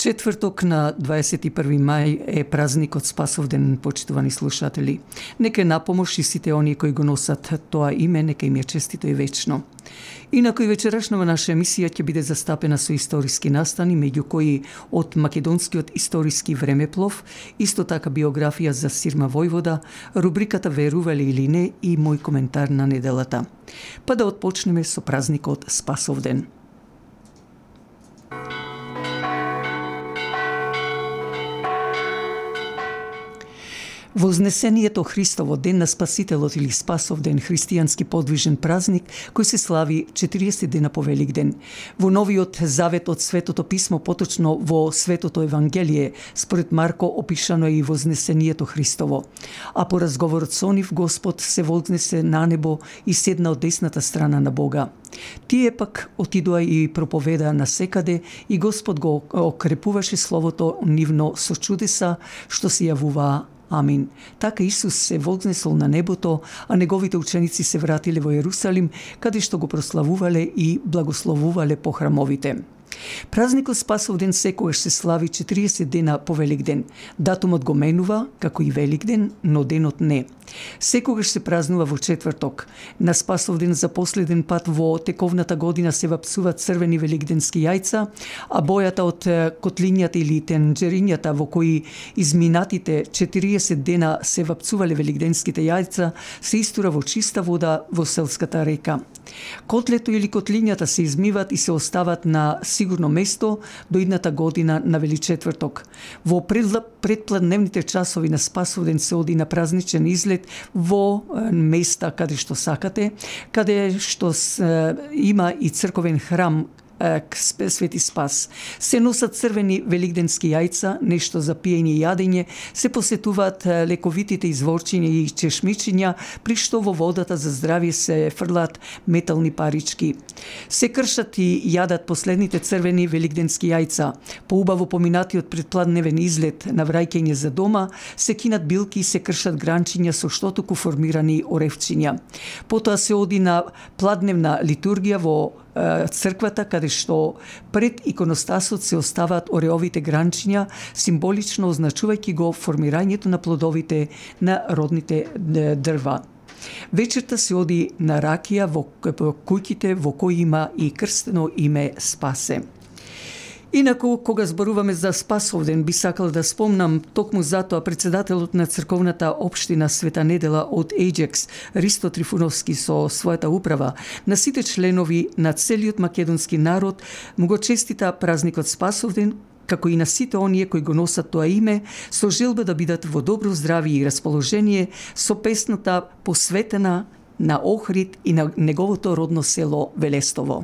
Четврток на 21 мај е празникот Спасовден, почитувани слушатели. Нека е напомош и сите оние кои го носат тоа име, нека им е честито и вечно. Инаку и вечерашнава наша емисија ќе биде застапена со историски настани, меѓу кои од македонскиот историски времеплов, исто така биографија за Сирма Војвода, рубриката Верувале или не и мој коментар на неделата. Па да отпочнеме со празникот Спасовден. Вознесението Христово, ден на Спасителот или Спасовден, христијански подвижен празник кој се слави 40 дена по Великден. Во Новиот Завет од Светото писмо, поточно во Светото Евангелие, според Марко опишано е и Вознесението Христово. А по разговорот со нив Господ се вознесе на небо и седна од десната страна на Бога. Тие пак отидоа и проповедаа насекаде и Господ го окрепуваше словото нивно со чудеса што се јавуваа. Амин. Така Исус се вознесол на небото, а неговите ученици се вратиле во Јерусалим, каде што го прославувале и благословувале по храмовите. Празникот Спасовден секогаш се слави 40 дена по Великден. Датумот го менува, како и Великден, но денот не. Секогаш се празнува во четврток. На Спасовден за последен пат во тековната година се вапсуваат црвени великденски јајца, а бојата од котлињата или тенџерињата во кои изминатите 40 дена се вапцувале великденските јајца се истура во чиста вода во селската река. Котлето или котлињата се измиват и се остават на сигурно место до идната година на Величетврток. Во предпладневните часови на Спасовден се оди на празничен излет во места каде што сакате, каде што има и црковен храм Свети Спас. Се носат црвени великденски јајца, нешто за пиење и јадење, се посетуваат лековитите изворчиња и чешмичиња, при што во водата за здравје се фрлаат метални парички. Се кршат и јадат последните црвени великденски јајца. По убаво поминатиот предпладневен излет на враќање за дома, се кинат билки и се кршат гранчиња со штотуку формирани оревчиња. Потоа се оди на пладневна литургија во црквата, каде што пред иконостасот се оставаат ореовите гранчиња, символично означувајќи го формирањето на плодовите на родните дрва. Вечерта се оди на ракија во куќите во кои има и крстено име Спасе. Инаку, кога зборуваме за Спасовден, би сакал да спомнам токму затоа председателот на црковната општина Света Недела од Ејџекс, Ристо Трифуновски, со својата управа, на сите членови на целиот македонски народ му го честита празникот Спасовден, како и на сите оние кои го носат тоа име, со желба да бидат во добро здравје и расположение, со песната посветена на Охрид и на неговото родно село Велестово.